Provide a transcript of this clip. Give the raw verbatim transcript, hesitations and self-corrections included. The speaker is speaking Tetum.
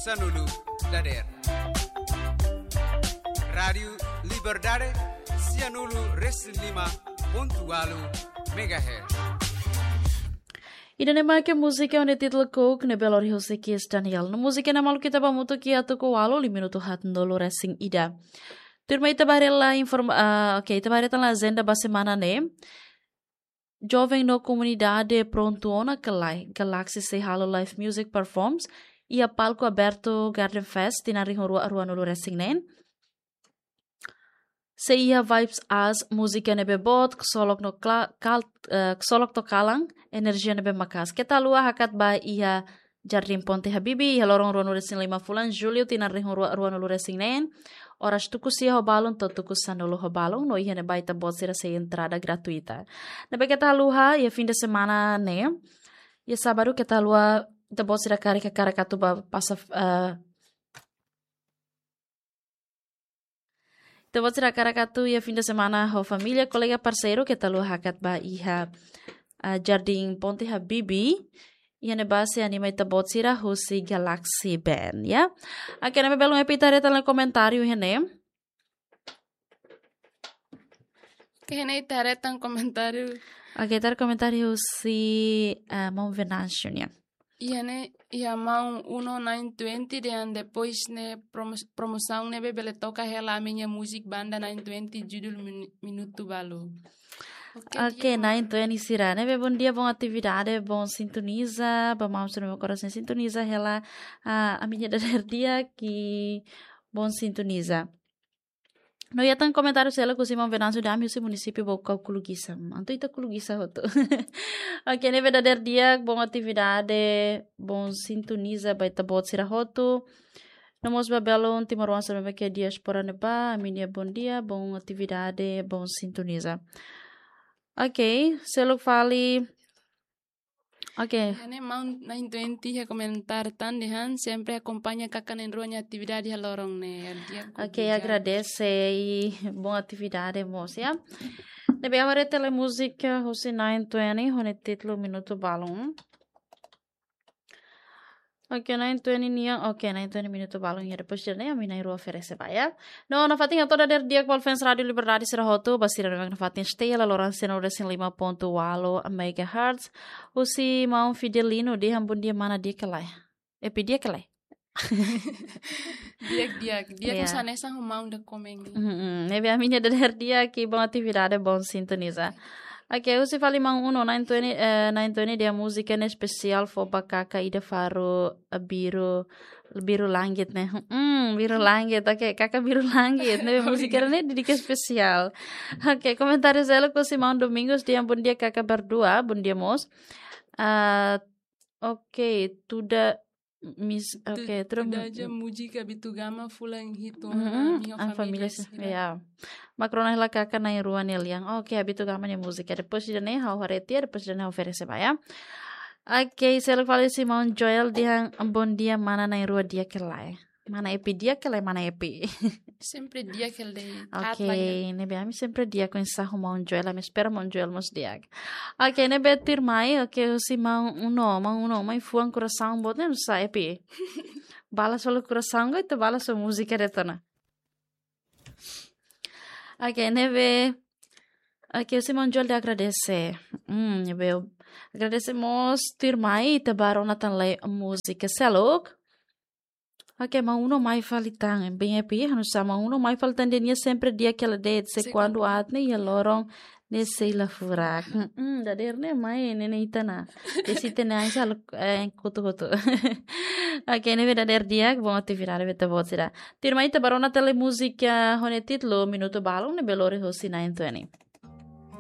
sanulu dadeer. Rádiu Liberdade, sianulu resin lima pontu ualu megahertz. Ida-ne'e mak múzika ho títulu Coke ne'ebé lori husi Kizz Daniel. No múzika ne'e maluk ita bá hamutuk iha tuku ualu, liu minutu haatnulu resin ida. Tuirmai ita bá haree hela informa-, ah, oke, ita bá haree tan hela ajenda ba semana ne'e. Joven no komunidade prontu ona ka lae, Galaxy sei halo live music performance iha palku abertu Garden Fest tinan rihun rua ruanulu resin neen. Sei iha Vibes As, múzika ne'ebé boot, ksolok no kla-, kal-, eh, ksolok no kalan, enerjia ne'ebé maka'as. Keta haluha hakat bá iha Jardim Ponte Habibie, iha loron ruanulu resin lima fulan Jullu, tinan rihun rua ruanulu resin neen, oras tuku sia ho balun to'o tuku sanulu ho balun, no iha ne'ebá ita-boot sira sei entrada gratuita. Ne'ebé keta haluha, iha fim de semana ne'e, iha sábadu keta haluha, ita-boot sira karik hakarak atu bá pasa, eh, ita-boot sira hakarak atu iha fim de semana ho família, kolega, parseiru, keta haluha hakat bá iha, ah, Jardim Ponte Habibie, iha ne'ebá sei anima ita-boot sira husi Galaxy Band, ya. Oke, ne'ebé belun, ita haree tan hela komentáriu iha ne'e. Oke, ne'e ita haree tan komentáriu. Oke, ita haree komentáriu husi, ah, maun Venâncio nian. Iha ne'e, iha maun Uno nine twenty dehan depois ne'e promo-, promosaun ne'ebé bele toka hela ami-nia múzika banda nine twenty judul Min-, Minutu Balun. Oke, oke, dia, nine twenty sira. Ne'ebé bondia, bon atividade, bon sintoniza, ba maun sira ne'ebé korasaun sintoniza hela, ah, ami-nia dadeer di'ak, bom sintonizar. No iha tan komentáriu seluk husi maun Venâncio dehan ami husi munisípiu Baucau, Kulugisang. Entaun ita Kulugisang hotu. Oke, ne'ebé dadeer di'ak, bon atividade, bon sintoniza ba ita-boot sira hotu. No mós ba belun timoroan sira ne'ebé iha diáspora ne'ebá, ami-nia bondia, bon atividade, bon sintoniza. Oke, seluk fali. Oke. Iha ne'e maun nine twenty iha komentáriu tan dehan sempre akompaña kakan na'in-rua nia atividade iha loron ne'e. Dia. Oke, kudu agradese i bon atividade mós, ya. Ne'ebé agora tele múzika husi nine twenty, ho nia títulu Minutu Balun. Oke, nine twenty nian, oke, nine twenty Minutu Balun, ya, depois de ne'e, ami na'in-rua oferese ba, ya. No, nafatin hato'o dadeer di'ak ba fans Rádiu Liberdade sira hotu, ba sira ne'ebé nafatin stay hela loron sianulu resin lima pontu ualu megahertz. Husi maun Fidelino dehan bondia mana, di'ak ka lae? Epi, di'ak ka lae? Di'ak, di'ak. Di'ak. Ya. Mós hanesan ho maun ida komen. Mm-mm. Ne'ebé ami-nia dadeer di'ak i bon atividade, bon sintoniza. Oke, husi fali maun Uno, nine twenty, eh, nine twenty dehan múzika ne'e espesiál fó ba katak ida Faro, eh, Biru, Biru Langit ne'e. Hmm, Biru Langit. Oke, katak Biru Langit ne'e. Múzika ne'e dedika espesiál. Oke, komentáriu seluk husi maun Domingos dehan bondia katak berdua, bondia mós. Ah, oke, tuda mis-, tu-, oke, tuda, tuda aja múzika Abitugama fulan hitu ona, mm-mm, ami ho família sira. Ya. Mak rona hela katak na'in-rua nia lian. Oke, Abitugama nia múzika. Depois de ne'e ha'u haree tiha, depois de ne'e ha'u oferese ba, ya. Oke, seluk fali husi maun Joel dehan bondia mana, na'in-rua di'ak ka lae? Mana Epi, di'ak ka lae mana Epi? Sempre di'ak hela de'it. Oke, aat lagi. Ne'ebé ami sempre di'ak oinsá ho maun Joel, ami espera maun Joel mós di'ak. Oke, ne'ebé tuirmai, oke, husi maun Uno, maun Uno, mai fuan korasaun boot ne'e oinsá Epi? Balas halo korasaun ka ita balas ho múzika de'it ona? Oke, ne'ebé, oke, husi maun Joel dehan agradese. Hmm, ne'ebé, agradese mós, tuirmai ita bá rona tan hela múzika seluk. Oke, maun Uno mai fali tan, bem Epi, ha'u sá maun Uno mai fali tan, dehan nia sempre di'ak hela de'it, se kuandu aat ne'e iha loron ne'e sei la furak. Mm-mm, dadeer ne'e mai ne'e, ne'e ita na. Desi tene ai sal, eh, kotu-kotu. Oke, ne'ebé dadeer di'ak, bon atividade ba ita-boot sira. Tuirmai ita bá rona tan hela múzika ho nia títulu Minutu Balun ne'ebé lori husi nine twenty.